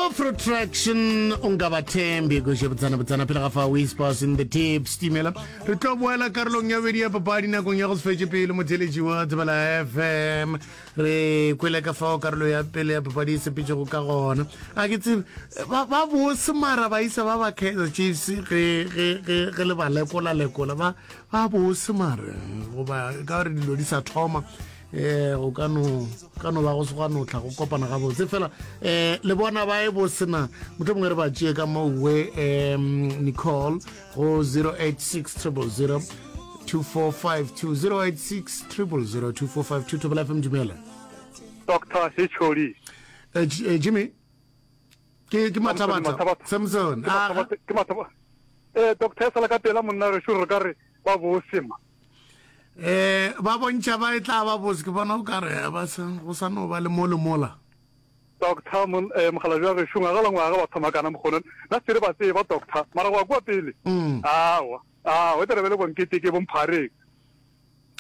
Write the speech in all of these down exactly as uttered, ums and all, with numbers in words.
Protraction o nka ba thembi go botsana botsana pele ga fa whispers in the deep stimela. Re tlo boela karolong ya bobedi ya papadi nakong ya go se fetše pele. Motheletši wa Tsebela F M, re kwele ka fao karolo ya pele ya papadi e sepetšego ka gona. A ke tsebe ba ba bose, mara ba isa ba ba Kaizer Chiefs ge ge ge ge le ba lekola lekola ba ba bose, mara goba ka gore dilo di sa thoma, eh go ka no ka no ba go se gwa no tla go kopana gabotse fela. eh le bona ba e bosena motho mongwe re ba tšee ka mowe. um Nicole go zero eight six zero zero two four five two, zero eight six zero zero two four five two. Thobela F M, dumela. Doctor H O D. eh, J- eh, Jimmy ke ke Mathabatha. Mathabatha. Samson. Ke Mathabatha, ke Mathabatha. Eh doctor, sala ka pela monna re re ka re ba bosema. eh ba bontšha ba e tla ba bose, ke bona o ka re ba sa go sa no ba le mo le mola. Doctor mon eh mogala jwa re shunga ga langwa ga ba thoma kana mokgono. Na se re ba tseba, doctor, mara go kwa pele. Mm. Awa. Ah, o tere bele bonkete ke bomphareng.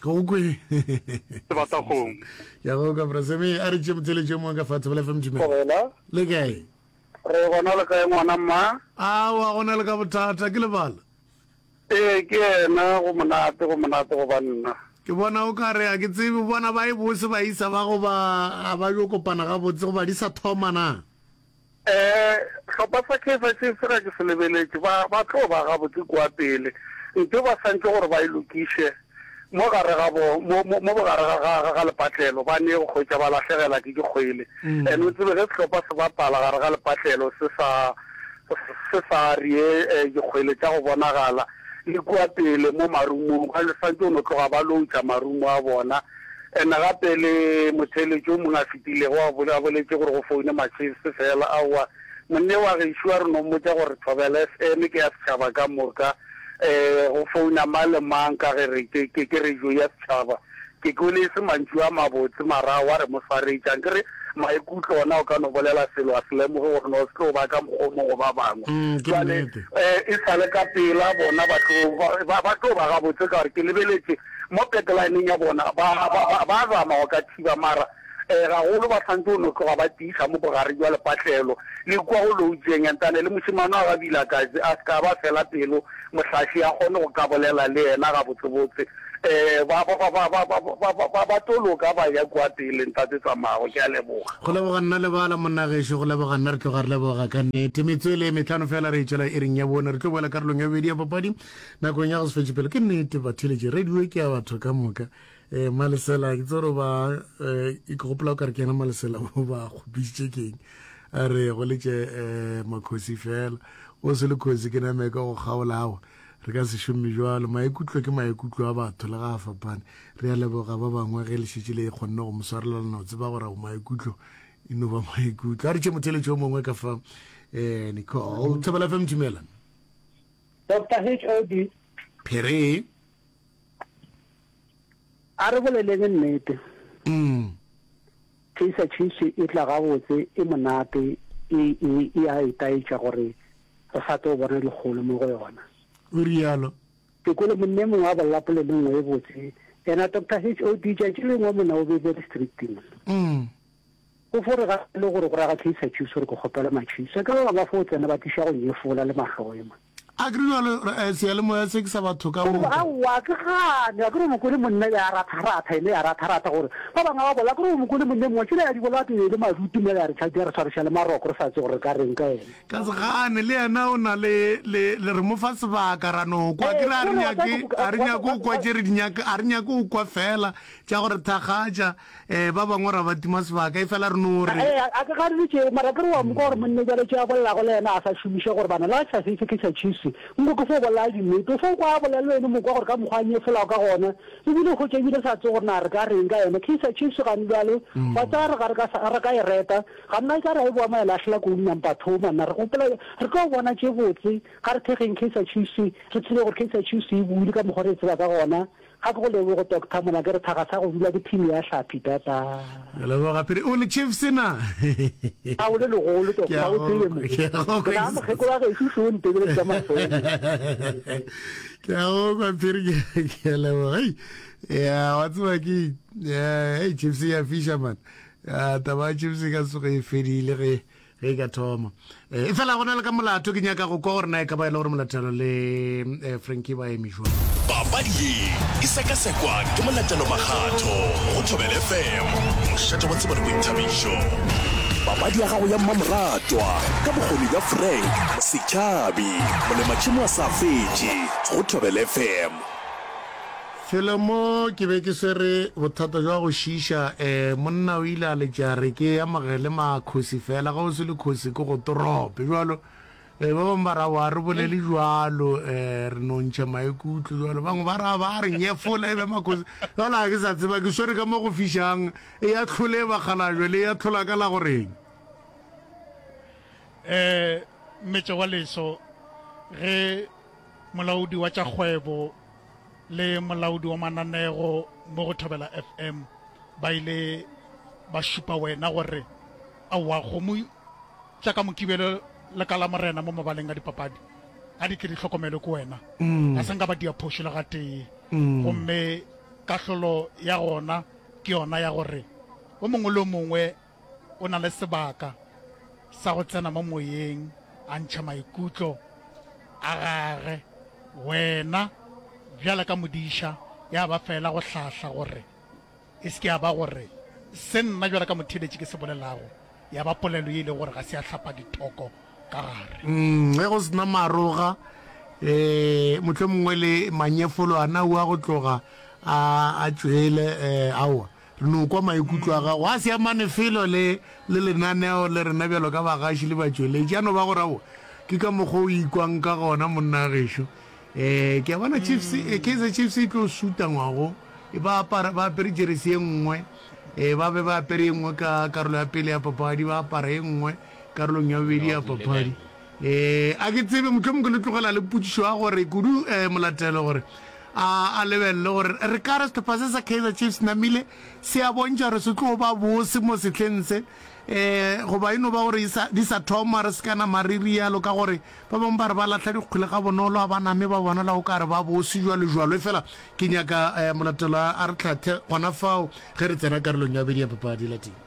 Go kwe. Sebatagong. Ya go ka braseme a re tše motheletše mongwe ka fa Thobela F M, dumela. Thobela. Le kae? Re gona, le kae ngwana mma? Awa, go na le ka bothata ke lebala. Ee, ke yena. Go monate, go monate go banna. Ke bona o ka re a ke tsebe bona ba e bose ba isa ba go ba a ba yo kopana gabotse goba di sa thoma na? um hlopha sa Kaizer Chiefs ga ke se lebeletše, ba ba tlo ba gabotse kua pele. Ntho ba santse gore ba e lokiše mo gare ga bo mo mo mo bogare ga ga ga lepatlelo, ba ne go kgwetša ba lahlegela ke dikgwele. And o tsebe ge sehlopha se bapala gare ga lepatlelo se sa se sa rie eh, dikgwele tša go bonagala le kua pele mo marumong, ba santse o no tloga ba loutša marumo a bona. And gape le motheletši o mongwe a fetilego a bole- a boletše gore go foune ma-Chiefs fela. Aowa, monne wa gešo, a re no mmotša gore Thobela F M ke ya setšhaba ka moka, um go founa mang le mang ka ge re ke ke ke radio ya setšhaba. Ke kwele e se mantšu a mabotse, mara wa re mo swaretšang ke re maikutlo ona o ka no bolela selo a se lemoge gore no se tlo ba ka mokgomong go ba bangwe. Mm, ke Jwale nnete. um e sa le ka pela bona ba tlo ba- ba ba tlo ba gabotse ka gore ke lebeletše mo backlineng ya bona, ba ba ba ba zama go ka thiba, mara um gagolo ba santse o no tloga ba tiiša mo bogare jwa lepatlelo le kua go loutšeng. Entane le mošemane wa ga Vilakazi a se ka ba fela pelo, mohlaši a kgone go ka bolela le yena gabotsebotse. um ba ba ba ba ba ba ba ba ba ba tlo loka ba ya kua pele. Ntate Tsamago, ke a leboga. Go leboga nna lebala monnagešo, go leboga nna. Re tloga re leboga ka nnete. Metswele e metlhano fela re e tšwela e reng ya bone. Re tlo boela karolong ya bobedi ya papadi nakong ya go se fetše pele. Ke nnete, batheletše, radio ke ya batho ka moka. um Malesela ke tse gore ba um ke gopola o ka re ke yena Malesela o ba kgopišitše keng, a re go letše um makgosi fela o se le kgosi ke name ka go kgaolawa. Re ka se šome jalo. Maikutlo ke maikutlo a batho le ga a fapane. Re a leboga ba bangwe ge le šetše le kgonne go mo swarelana o tseba gore maikutlo e no ba maikutlo. A re tše motheletši o mongwe ka fa. um Nicole, Thobela F M, dumela. Doctor H O D. Phere. A re boleleng nnete. mm. Kaizer Chiefs e tla gabotse, e monate, e e e a itaetša gore re sa tlo bona dikgolo mo go yona. O rialo. Ke kwele monne mongwe a bolela polelo nngwe e botse ena, Doctor H O D, tšatši lengwe mona o be very strict mona. Mm. O fo re ga le gore go raga Kaizer Chiefs gore ke kgopela ma-Chiefs ka ba ba fo tsena ba tliša go nyefola le mahloe ma. A ke re jalo, eh, seyalemoya se ke sa batho ka moka. Aowa, ke gane a ke re mokone monna ya ratharatha ene ya ratharatha gore ba bangwe ba bola ke re mokone monne mongwe tšela ya di bola ke le madutu mo ya re tšhadi ya re tshwariša le maroko, re sa tse gore re ka reng ka ene. Ka se gane le yena o na le le le re mo fa sebaka ra no kwa. Ke re a re nyake a re nyake go kwa tše re di nyaka, a re nyake go kwa fela tša gore thakgatša. um ba bangwe ra ba tima sebaka e fela re no re Ee, a ke gane tšeo, mara ke re wa mokwa gore monne jale tše a bolelago le yena a sa šomiše gore bana le ga sa se ke sa Chiefs nko ke fo bolela dinnete, o fo kwa a bolela le wene mokwa gore ka mokgwa a nyefolago ka gona ebile go tše ebile sa tse gore na re ka reng ka yena Kaizer Chiefs gane bjale. Wa tsaya re ga re ka sa- re ka e reta ga nna e ka re a e boa mo e lahlela ko number two manna re gopola re tlo bona tše botse ga re thekgeng Kaizer Chiefs, re tsebe gore Kaizer Chiefs e buile ka mokgwa re e tseba ka gona. Ga ke go leboge, Doctor mona ke re thaga sa go dula ke team ya hlapi tata. Ke leboga pele o le Chiefs na? A o le legolo, Ke doctor a o go tsebe mo. Ke a go ke na mokgekolo wa gešo šo o ntebeletše ka mahlong. Ke a go kwa phiri, ke ke a leboga. Hei, ya wa tseba ke eh, hey, Chiefs ya fisha man. Ya taba ya Chiefs e ka tsoge e fedile ge Ge e ka thoma. Eh, efela go na le ka molato ke nyaka go kwa gore na e ka ba e le gore Molatelo le eh, Frankie ba eme jwang. Papadi ye e sekasekwa ke Molatelo Makgatho go Thobela F M, mošate wa tsebo le boithabišo. Papadi ya gago ya mmamoratwa ka bokgoni bja Frank Setšhabi, molematšhemo a sa fetše go Thobela F M. Felo mo ke be ke swere bothata jwa go šiiša, um monna o ile a letša re ke amogele makhosi fela, ga o se le khosi ke go torope jwalo. Um ba bangwe ba ra wa re bolele jwalo, um re no ntšha maikutlo jwalo, bangwe ba ra ba re nyefola e be makhosi jwalo. Ga ke sa tseba ke swere ka mo go fišang, e ya tlhole bakgalajwe le ya tlhola ka la goreng. Um Mmetše wa leso ge molaodi wa tša kgwebo le molaodi wa mananego mo go Thobela F M ba ile ba šupa wena gore aowa kgomo tša ka Mokibelo le ka Lamorena mo mabaleng a dipapadi ga di tle di hlokomelwe ke wena, ga se nka ba dia phošo le gatee. Gomme kahlolo ya gona ke yona ya gore o mongwe le o mongwe o na le sebaka sa go tsena mo moyeng a ntšha maikutlo a gage. Wena bjale ka modiša ya ba fela go hlahla gore e se ke ya ba gore se nna bjale ka motheeletši ke se bolelago ya ba polelo ye e lego gore ga se ya hlapa dithoko ka gare. Mm, ge go sena maroga, um mohlomongwe le manyefolo ana ua go tloga a a tšwele, um aowa re no kwa maikutlo a gago a se amane felo le le lenaneo le rena bjalo ka bagaši le batšweletši, a no ba gore aowa ke ka mokgwa o ikwang ka gona monna gešo. Um ke a bona Chiefs, eh, Kaizer Chiefs e tlo suta ngwago, e ba apara ba apere jeresi ye nngwe, um ba be ba apere ye nngwe ka karolo ya pele ya papadi, ba apara ye nngwe karolong ya bobedi ya papadi. Um a ke tsebe, mohlomongwe ke le tlogela le potšišo ya gore kudu um Molatelo gore a a lebelele gore re ka re sehlopha se sa Kaizer Chiefs namile se a bontšha gore se tlo ba bose mo sehleng se, um goba e no ba gore di sa thoma re se ka nama re rialo, ka gore ba bangwe ba re ba lahla dikgwele ga bonolo, a ba name ba bonala o ka re ba bose jwalo jwalo. Efela ke nyaka um Molatelo a re hlathe gona fao ge re tsena karolong ya bobedi ya papadi lateng.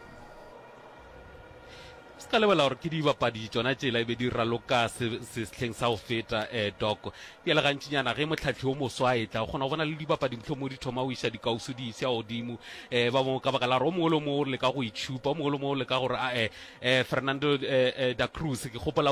Se ka lebala gore ke dibapadi tšona tšela e be di raloka sehleng sa go feta, um Doc. Bjale gantšinyana ge mohlahli o moswa a etla, o kgona go bona le dibapadi mohlomongwe di thoma go iša dikausu di isya godimo, um ba bangwe ka baka la gore o mongwe le o mongwe o leka go itšhupa, o mongwe le o mongwe o leka gore ae. um Fernando um da Cruz ke gopola o